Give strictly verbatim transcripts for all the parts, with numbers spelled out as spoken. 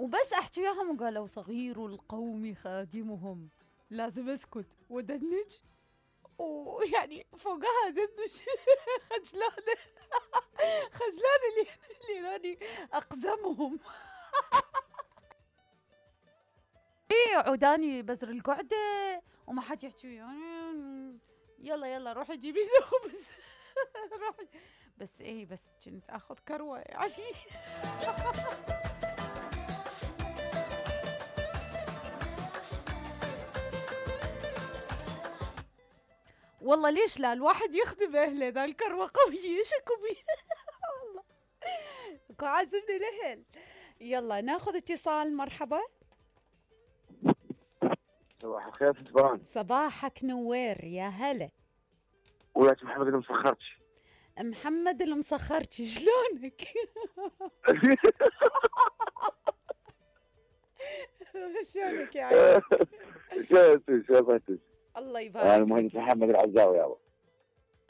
وبس احكي وياهم وقالوا صغير القوم خادمهم، لازم اسكت ودنج، ويعني فوقها دنج خجلانه خجلانه اللي اللي راني اقزمهم. ايه عوداني بزر القعده وما حد يحكي وياي، يلا يلا روحي جيبي لي خبز. روحي بس ايه بس كنت اخذ كروه يعني. والله ليش لا الواحد يخدم اهله، ذا الكروه قويه شكو بي. والله عازمني الاهل. يلا ناخذ اتصال. مرحبا. صباح الخير سبحان. صباحك نوير يا هلا. وياك محمد المسخرتش. محمد المسخرتش شلونك؟ شلونك يا عيال؟ شلونك شلونك؟ الله يبارك. انا المهندس محمد العزاوي يابا.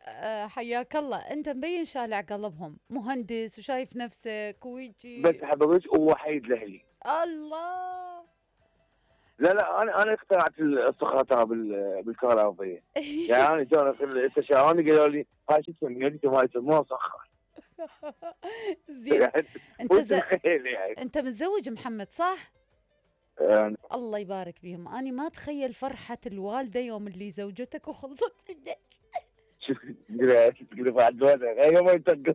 أه حياك الله، انت مبين شالع قلبهم، مهندس وشايف نفسك ويجي. بس حبيبك ووحيد لاهلي. الله. لا لا انا انا اخترعت السخرة بالكهربائية. يعني انا جوني استشاروني قالوا لي هاي شو تسميها؟ قلت ما يسموها مسخر. زين. انت ز... يعني. انت متزوج محمد صح؟ أه. الله يبارك بيهم، انا ما اتخيل فرحة الوالدة يوم اللي زوجتك وخلصت منك. شوف تقول بعد الوالدة هي ما يتقل.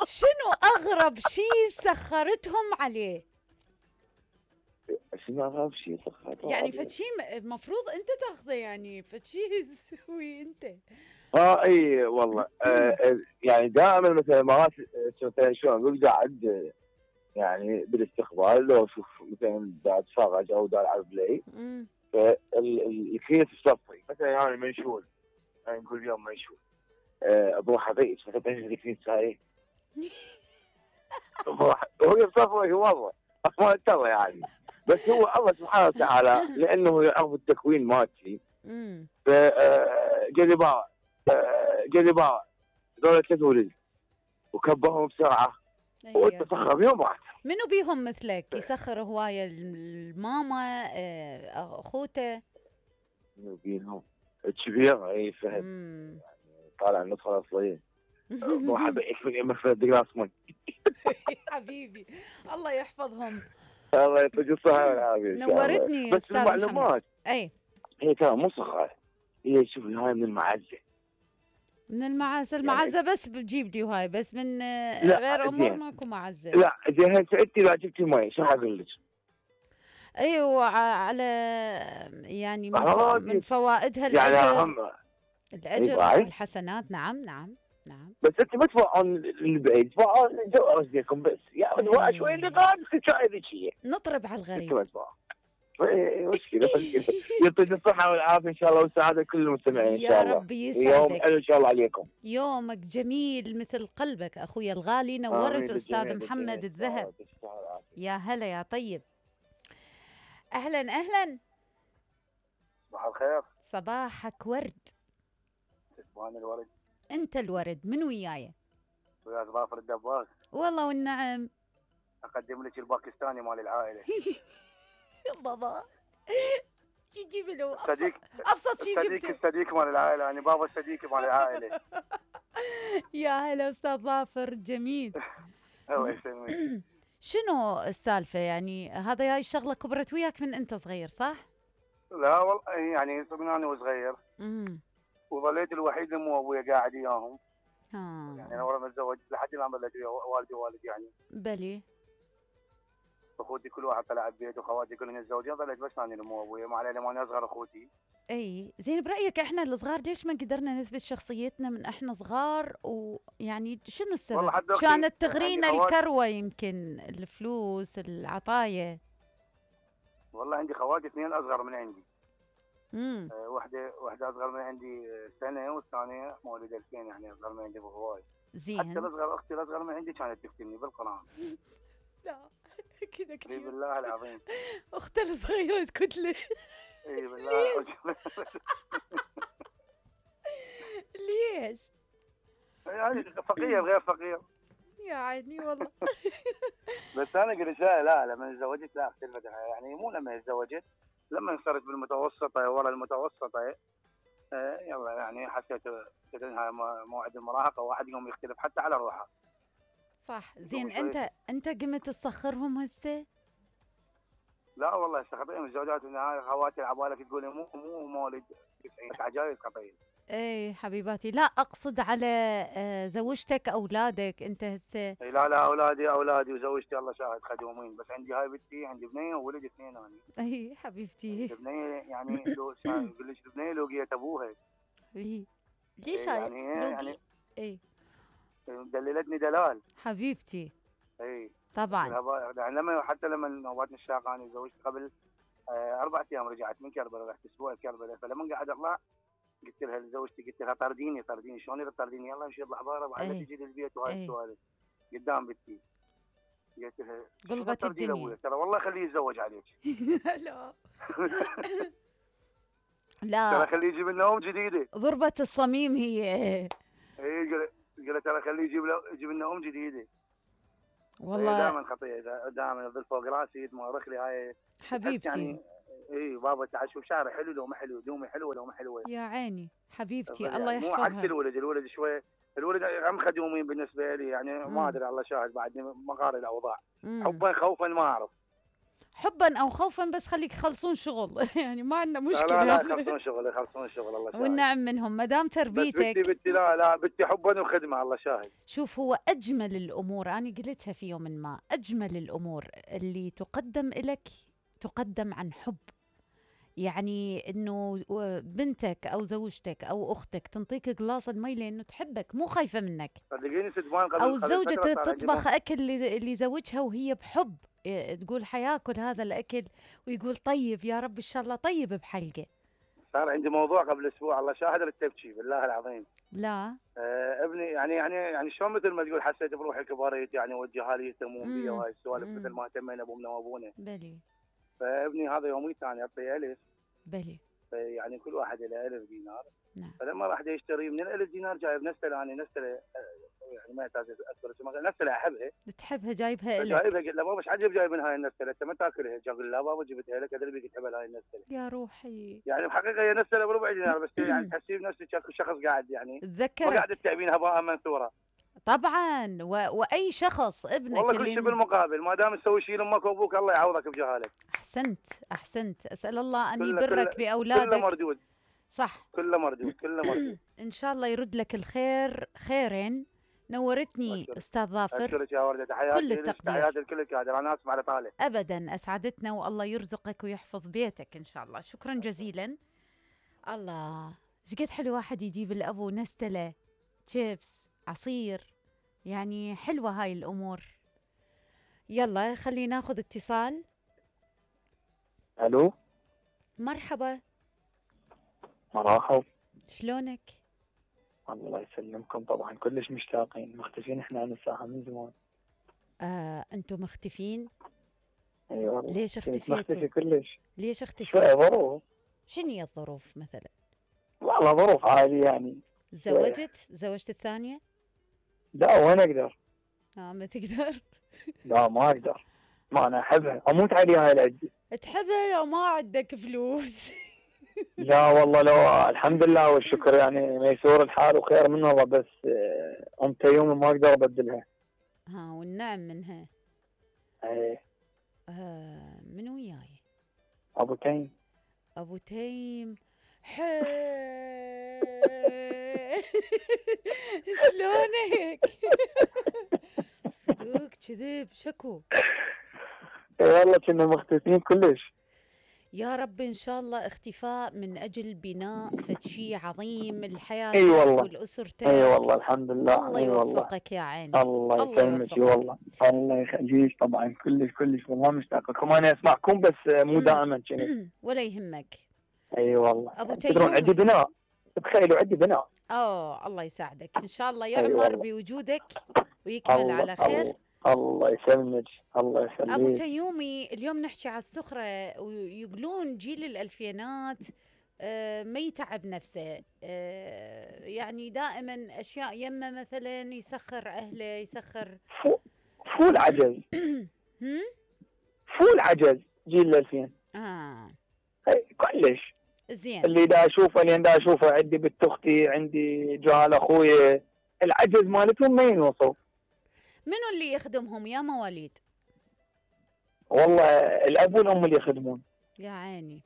شنو اغرب شيء سخرتهم عليه؟ شنو اغرب شيء سخرتهم يعني فد شيء المفروض انت تاخذه، يعني فد شيء تسوي انت. اه اي والله. آه يعني دائما مثلا مرات مثلا شلون اقول قاعد يعني بالاستقبال لو اشوف مثلا دا اتفرج او دا العب بلاي، فالكيس الصفري مثلا يعني منشول، يعني نقول اليوم منشول بروح ابيش مثلا الكيس هاي وهي صفري والله ما ترى يعني. بس هو الله سبحانه وتعالى لانه يعرف التكوين مالتي، ف جلي باع جلي باع دولة ثلاث ولد وكبرهم بسرعه وتسخر بيهم واحد. منو بيهم مثلك يسخر هوايه؟ الماما اخوته؟ منو بيهم؟ الكبير اي فهد يعني طالع النطفه الاصليه. واحد يكفي يمثل دقلاص مي. حبيبي الله يحفظهم. الله يعطيك الصحة والعافية. نورتني بس المعلومات اي هي ترى مو صخرة، هي شوفي هاي من المعزة. من المعزة؟ المعزة يعني بس بتجيب لي وهاي بس من غير امور ماكو معزة. لا زين هسه انت لو جبتي مي شو حقول لك؟ ايوه على يعني من, ف... من فوائدها يعني الاجر. هم الاجر والحسنات. نعم نعم نعم. بس انت ما تفوقون البعيد، تفوقون قصدكم بس يعني هو شوي اللي قاعد تشاهد شيء. نطرب على الغريب. ايه مشكلة مشكلة. يعطيك الصحة والعافية ان شاء الله والسعادة كل المستمعين ان شاء الله. يا ربي يسعدك. يوم حلو ان شاء الله عليكم. يومك جميل مثل قلبك اخوي الغالي. نورت استاذ محمد الذهب. يا هلا يا طيب. اهلا اهلا. صباح الخير. صباحك ورد. اسمعني الورد. انت الورد. من وياي؟ ويا ظافر الدباغ. والله والنعم. اقدم لك الباكستاني مال العائله. بابا يجيب له صديق ابسط شيء جبته. صديق الصديق مال العائله، يعني بابا الصديق مال العائله. يا هلا استاذ ظافر جميل. الله يسلمك. شنو السالفه يعني؟ هذا هاي الشغله كبرت وياك من انت صغير صح؟ لا والله يعني من انا وصغير. امم وظليت الوحيد اللي مو ابويا قاعد وياهم. ها يعني انا ورا متزوج لحد الان بلد ويا والدي ووالد يعني. بلي. اخوتي كل واحد طلع ببيت وخواتي كلهم متزوجين، ظليت بس انا اللي مو ابويا، ما علي لما انا اصغر اخوتي. اي زين. برايك احنا الصغار ليش ما قدرنا نثبت شخصيتنا من احنا صغار؟ ويعني شنو السبب؟ كانت تغرينا يعني الكروه، يمكن الفلوس العطايا. والله عندي خواتي اثنين اصغر من عندي. امم أه واحده واحده اصغر من عندي سنه، والثانيه مولوده الفين يعني اصغر من عندي بهواي. زين. حتى الاصغر اختي الاصغر من عندي كانت تفتني بالقران. لا كذا كثير. اي بالله العظيم. اختي الصغيره تكتله. اي بالله. ليش؟ يعني فقير غير فقير. يا عيني والله. بس انا قلت لا لا لما تزوجت لا اختلفت يعني، مو لما تزوجت، لما صرت بالمتوسطه ورا المتوسطه آه يلا يعني حسيت انها موعد المراهقه واحد يوم يختلف حتى على روحه. صح. زين انت انت قمت تسخرهم هسه؟ لا والله خطير الزوجات هاي خواتي عبالك تقولي مو مو مولد تسعين عجايز خطير. اي حبيباتي، لا اقصد على زوجتك اولادك انت هسه. لا لا اولادي اولادي وزوجتي الله شاهد خدومين، بس عندي هاي بنتي عندي بنيه وولد اثنين انا. اي حبيبتي. البنيه يعني لو يقول لك البنيه لوقيت ابوها. اي ليش يعني يعني اي دللتني دلال حبيبتي. اي طبعا يعني لما حتى لما نوبات الشاقه انا تزوجت قبل اربع ايام رجعت من كربلاء، رحت اسبوع كربلاء، فلما قاعد اطلع قلت لها لزوجتي قلت لها طرديني طرديني شلون تطرديني يلا امشي اطلع برا بعد تجي للبيت وهاي السوالف قدام بنتي. قلت لها قلبت الدنيا ترى والله خليه يتزوج عليك. لا لا ترى خليه يجيب لنا ام جديده. ضربة الصميم هي. اي قلت ترى خليه يجيب يجيب لنا ام جديده. والله دائما خطيه دائما يظل فوق راسي يتمرخ لي هاي حبيبتي. يعني اي بابا تعال شوف شعره حلو لو ما حلو، دومي حلوه لو ما حلوه. يا عيني حبيبتي الله يعني يحفظها. مو عكس الولد، الولد شوي الولد عم خدومين بالنسبه لي يعني مم. ما ادري الله شاهد بعدني ما قاري الاوضاع. حبا خوفا ما اعرف. حبا او خوفا بس خليك يخلصون شغل يعني ما عندنا مشكله. لا لا يخلصون شغل يخلصون شغل الله شاهد. والنعم منهم ما دام تربيتك. بس بنتي بنتي لا لا بنتي حبا وخدمه الله شاهد. شوف هو اجمل الامور انا قلتها في يوم ما، اجمل الامور اللي تقدم لك تقدم عن حب. يعني انه بنتك او زوجتك او اختك تنطيك قلاص المي لانه تحبك مو خايفه منك. صدقيني ستمان قبل او الزوجه تطبخ اكل اللي زوجها وهي بحب، تقول حياكل هذا الاكل ويقول طيب يا رب ان شاء الله طيب بحلقه. صار عندي موضوع قبل اسبوع الله شاهد رتبتي بالله العظيم. لا آه ابني يعني يعني يعني شلون مثل ما تقول حسيت بروحي كبريت يعني وجه لي يهتمون بي وهاي السوالف مثل ما اهتمينا بامنا وابونا. بلي. فابني هذا يومي ثاني اعطيه الف. بلي. يعني كل واحد له ألف دينار. نعم. فلما راح يشتري من الألف دينار جايب نفسه انا نفسه يعني ما يحتاج اذكر اسمها نفسه احبها. تحبها جايبها لك. جايبها قلت له بابا ايش عجب جايب من هاي النفسه انت ما تاكلها؟ قال لا بابا جبتها لك ادري بيك تحبها هاي النفسه. يا روحي. يعني بحقيقه هي نفسه بربع دينار بس يعني تحسين نفسك شخص قاعد يعني تذكرك. ما قاعد تتعبين هباء منثوره. طبعا و... واي شخص ابنك والله كل شيء بالمقابل ما دام تسوي شيء لامك وابوك الله يعوضك بجهالك. احسنت احسنت اسال الله ان يبرك باولادك. كله مردود. صح كله مردود كله مردود. ان شاء الله يرد لك الخير خيرين. نورتني أشكرك. استاذ ظافر. اشكرك يا ورده تحياتي كل التقدير. تحياتي لكل الكادر انا اسمع على طالع. ابدا اسعدتنا والله يرزقك ويحفظ بيتك ان شاء الله. شكرا جزيلا. الله ايش قد حلو واحد يجيب الابو نستله شيبس عصير يعني حلوه هاي الامور. يلا خلينا ناخذ اتصال. الو مرحبا. مرحب. شلونك؟ الله يسلمكم طبعا كلش مشتاقين مختفين احنا عن الساحه من زمان. آه انتم مختفين؟ اي والله. ليش اختفيتوا؟ مختفي كلش. ليش اختفيتوا؟ شوية ظروف. شنو هي الظروف مثلا؟ والله ظروف عادي يعني. زوجت؟ زوجت الثانية؟ لا وين اقدر؟ اه ما تقدر؟ لا ما اقدر. ما انا احبها اموت عليها العدة. تحبها لو ما عندك فلوس. لا والله لو الحمد لله والشكر يعني ميسور الحال وخير من الله بس ام تيومي ما اقدر ابدلها. ها والنعم منها. ايه. آه من وياي؟ ابو تيم. ابو تيم حي. شلونك؟ صدق كذب شكو. والله كنا مختفين كلش. يا رب ان شاء الله اختفاء من اجل بناء فد شيء عظيم الحياه. اي والله. والاسر تاعك. اي والله الحمد لله. الله يوفقك يا عيني. الله يسلمك والله. الله يخليك طبعا كلش كلش والله مشتاق لكم انا اسمعكم بس مو دائما كذا. ولا يهمك. اي والله. ابو تيم تدرون عندي بناء تخيلوا عندي بناء. اوه الله يساعدك ان شاء الله يعمر بوجودك ويكمل الله على خير. الله. الله يسلمك الله يخليك. ابو تيومي اليوم نحكي على السخره ويقولون جيل الالفينات آه ما يتعب نفسه، آه يعني دائما اشياء يمه مثلا يسخر اهله يسخر. فو فول عجز. هم؟ فول عجز جيل الألفين. اه هي كلش. زين. اللي دا اشوفه اللي دا اشوفه عندي بنت اختي، عندي جهال اخويا، العجز مالتهم ما ينوصف. منو اللي يخدمهم يا مواليد؟ والله الاب والام اللي يخدمون. يا عيني.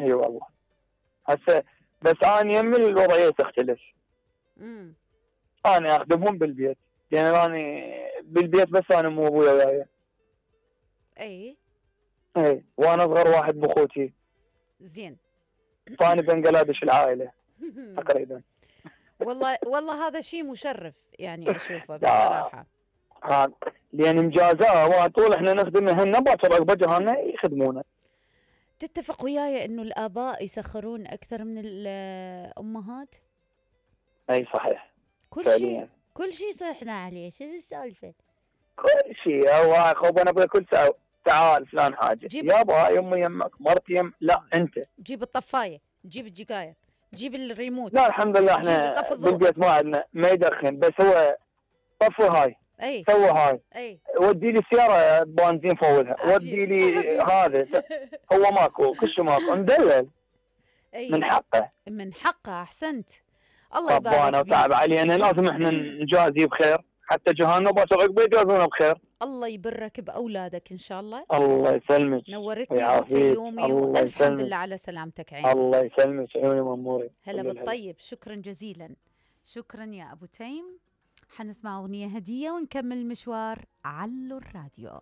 اي أيوة والله. هسه بس انا يمي الوضعيه تختلف. امم انا اخدمهم بالبيت، لان يعني انا بالبيت بس انا مو ابويا وياي. اي اي وانا اصغر واحد باخوتي. زين. فانا بنجلاديش العائله تقريبا. والله والله هذا شيء مشرف يعني اشوفه بصراحه. ها لان مجازاه طول احنا نخدمهن باكر عقب جهالنا يخدمونا. تتفق وياي انه الاباء يسخرون اكثر من الامهات؟ اي صحيح. كل شيء كل شيء صحنا عليه، شو السالفه؟ كل شيء هو اخو انا بقول كل ساعه تعال فلان حاجه يابا يمي يمك مرتي يم لا انت جيب الطفايه، جيب الجقايه، جيب الريموت. لا الحمد لله احنا بالبيت ما عندنا ما يدخن، بس هو طفي هاي اي سوي هاي اي ودي لي سياره بنزين فولها، ودي لي هذا هو ماكو كل شيء ماكو مدلل. أي. من حقه من حقه. احسنت. الله يبارك ربنا وتعب علينا، لازم احنا نجازي بخير حتى جهالنا باكر عقب يجازونا بخير. الله يبرك باولادك ان شاء الله. الله يسلمك. نورتني وتيومي والف حمد لله على سلامتك عيني. الله يسلمك عيوني ماموري. هلا بالطيب. شكرا جزيلا. شكرا يا ابو تيم. حنسمع اغنيه هديه ونكمل المشوار. علو الراديو.